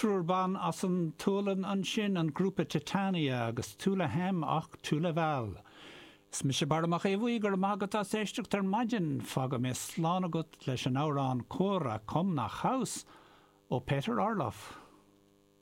Triúr ban as an tSualainn ansin, an grúpa Titania agus Tuula Hem och Tuula Väl. Is mise Barra Mac Aodha Bhuí, go raibh maith agat as éisteacht ar maidin. Fágfaidh mé slán agat leis an amhrán Koira kom nach huis ó Peter Orloff.